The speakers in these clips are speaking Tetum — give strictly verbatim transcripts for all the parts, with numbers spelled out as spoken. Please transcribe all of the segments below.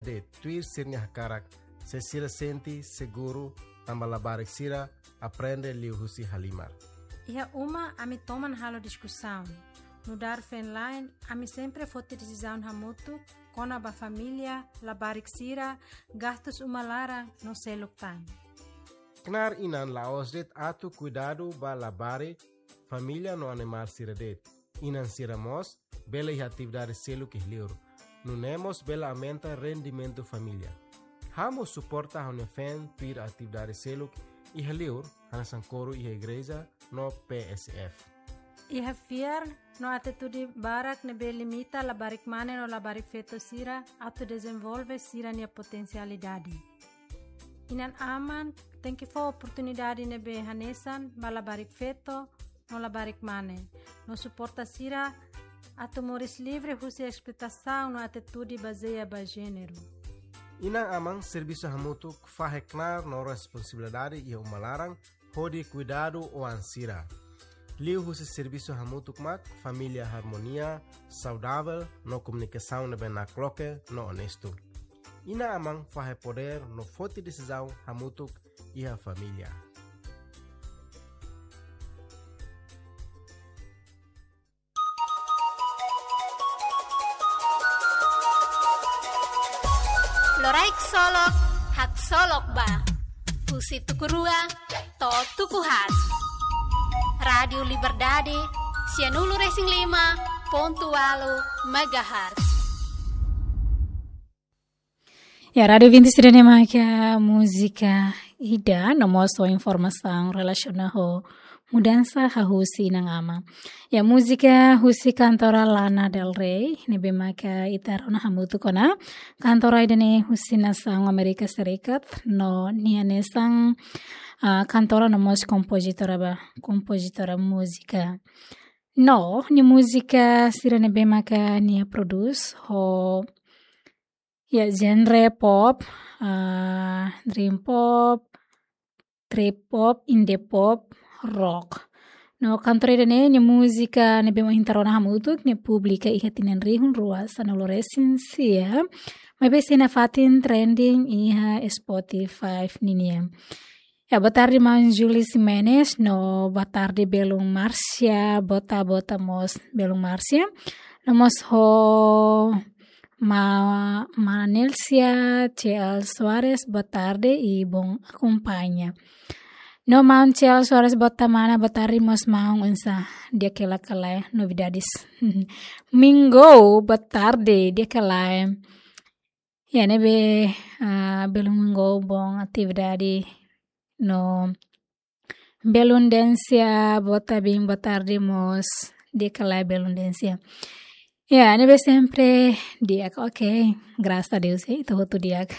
de'it, tuir sira-nia hakarak, se sira sente seguru tanba labarik sira aprende liuhusi halimar. Iha uma ami toman halo diskusaun. Nu'udar feen-la'en, ami sempre foti desizaun hamutuk kona-ba família, labarik sira, gastus uma laran no seluk tan. Knaar inan la'ós de'it atu kuidadu ba labarik, família no animál sira de'it. Inan sira mós bele iha atividade seluk iha liur. Nune'e mós bele aumenta rendimentu família. Ha'u mós suporta ha'u-nia feen tuir atividade seluk iha liur, hanesan kóru iha igreja no P S F. Iha fiar no atitude barak ne'ebé limita labarik mane no labarik feto sira atu dezenvolve sira-nia potensialidade. Inan-aman tenke fó oportunidade ne'ebé hanesan ba labarik feto no labarik mane, no suporta sira atu moris livre husi esploitasaun no atitude bazeia ba jéneru. Inan-aman servisu hamutuk fahe knaar no responsabilidade iha uma laran hodi kuidadu oan sira. Liuhusi servisu hamutuk mak família harmonia, saudavel no komunikasaun ne'ebé nakloke no onestu. Inan-aman fahe podér no foti desizaun hamutuk iha família. Loraik solok, haksolok ba. Husi tuku rua to'o tuku haat. Rádiu Liberdade, sianulu-resin-lima pontu ualu megahertz. Ya, Rádiu Vinti sira-ne'e mak múzika ida, no mós informasaun relasiona ho mudansa hahú husi inan-aman. Ya, múzika husi kantora Lana Del Rey, ne'ebé maka ita rona hamutuk ona. Kantora ida-ne'e husi nasaun Amérika Serikat, no nia hanesan, ah, kantora no mós kompozitora ba, kompozitora múzika. No, nia múzika sira ne'ebé maka nia prodús ho, ya, genre pop, ah, dream pop, trip hop, indie pop, rock. No kantora ida-ne'e nia múzika ne'ebé mak ita rona hamutuk ne'e publika iha tinan rihun rua sanulu-resin-sia. Maibé sei nafatin trending iha Spotify ninian. Ya, boa tarde, maun Julie Ximenes, no boa tarde, belun Márcia, bota, bota mós, belun Márcia. No mós ho ma-, Manelcia C L Soares, boa tarde i bom akompaña. No maun C L Soares, bota mana, boa tarde mós maun, oinsá di'ak hela ka lae, novidades. Mingo, boa tarde, di'ak ka lae. Ya, ne'ebé, ah, belun Mingo, bom atividade no belun Déncia, bota bem, boa tarde mós, di'ak ka lae belun Déncia. Ya, ne'ebé sempre di'ak, oke, grasas a Deus, eh, ita hotu di'ak.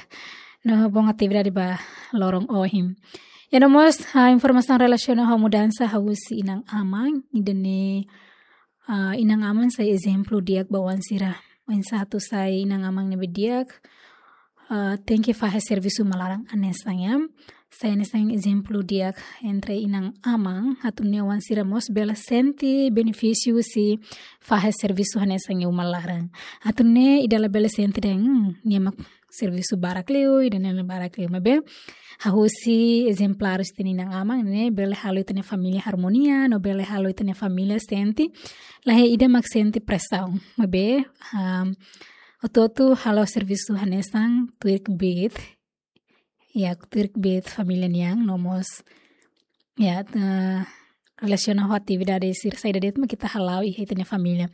No, bom atividade ba loron ohin. Ya, no mós, ah, informasaun relasiona ho mudansa hahú husi inan-aman, ida-ne'e, ah, inan-aman sai ezemplu di'ak ba oan sira. Oinsá atu sai inan-aman ne'ebé di'ak, ah, tenke fahe servisu uma laran hanesan, ya. Sai hanesan ezemplu di'ak entre inan-aman, atu nune'e oan sira mós bele sente benefísiu husi fahe servisu hanesan iha uma laran. Atu nune'e ida labele sente dehan, hmm, nia mak servisu barak liu, ida-ne'e barak liu, maibé hahú husi ezemplár husi ita-nia inan-aman ne'e bele halo ita-nia família harmonia, no bele halo ita-nia família sente, la iha ida mak sente presaun. Maibé, ah, hotu-hotu halo servisu hanesan tuir kbiit. Ya, tuir kbiit família nian, no mós, ya, eh, relasiona ho atividade sira saida de'it mak ita hala'o iha ita-nia família.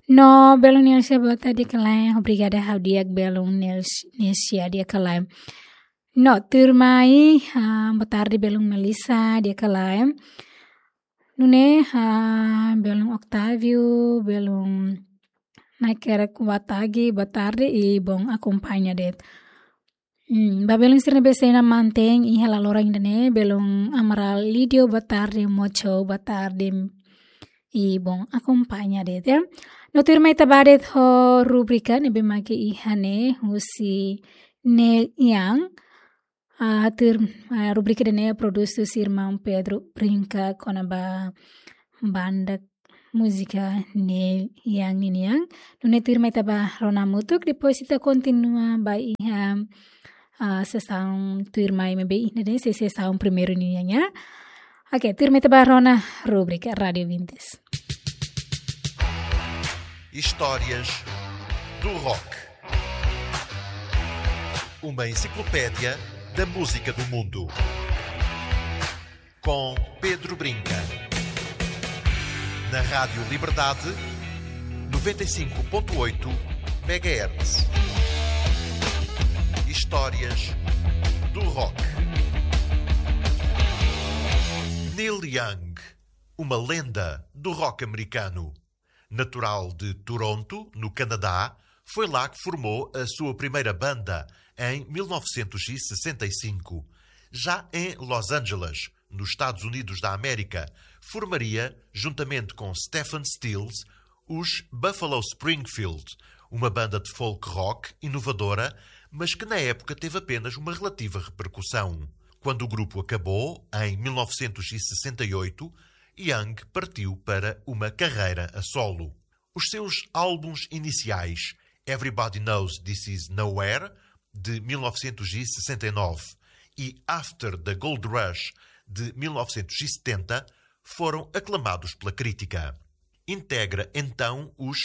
No, belun Nelsia, boa tarde, di'ak ka lae, obrigada, ha'u di'ak, belun Nels-, Nelsia, di'ak ka lae. No, tuirmai, ah, boa tarde, belun Melissa, di'ak ka lae. Nune'e, ah, belun Octávio, belun Naker Kuatagi, boa tarde i bom akompaña de'it. Hmm, ba belun sira ne'ebé sei iha ne'ebá iha laloran ida-ne'e, belun Amaral Lídio, boa tarde, Mocho, boa tarde, i bom akompaña de'it, ya. No tuirmai ita bá de'it ho rubrika ne'ebé mak iha ne'e, husi Nel Yang, ah, tuir, ah, rubrika ida-ne'e prodús husi irmaun Pedro Brinca kona-ba banda múzika Neil Young ninian. Nune'e tuirmai ita bá rona hamutuk, depois ita kontinua ba iha, ah, sesaun tuirmai maibé ida-ne'e sei sesaun primeiru ninian, ya. Oke, tuirmai ita bá rona rubrika Rádio Vintes. Histórias do Rock. Uma enciclopédia da música do mundo. Com Pedro Brinca. Na Rádio Liberdade, noventa e cinco ponto oito megahertz. Histórias do Rock. Neil Young, uma lenda do rock americano. Natural de Toronto, no Canadá, foi lá que formou a sua primeira banda, em mil novecentos e sessenta e cinco. Já em Los Angeles, nos Estados Unidos da América, formaria, juntamente com Stephen Stills, os Buffalo Springfield, uma banda de folk rock inovadora, mas que na época teve apenas uma relativa repercussão. Quando o grupo acabou, em mil novecentos e sessenta e oito, Young partiu para uma carreira a solo. Os seus álbuns iniciais, Everybody Knows This Is Nowhere, de mil novecentos e sessenta e nove, e After the Gold Rush, de mil novecentos e setenta, foram aclamados pela crítica. Integra então os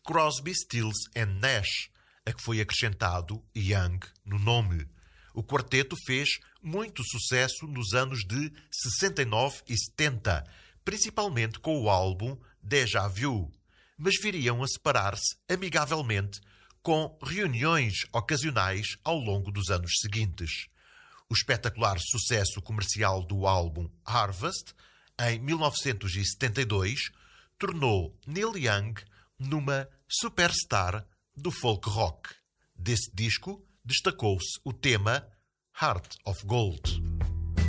Crosby, Stills and Nash, a que foi acrescentado Young no nome. O quarteto fez muito sucesso nos anos de sessenta e nove e setenta, principalmente com o álbum Déjà Vu, mas viriam a separar-se amigavelmente, com reuniões ocasionais ao longo dos anos seguintes. O espetacular sucesso comercial do álbum Harvest, em mil novecentos e setenta e dois, tornou Neil Young numa superstar do folk rock. Desse disco, destacou-se o tema Heart of Gold.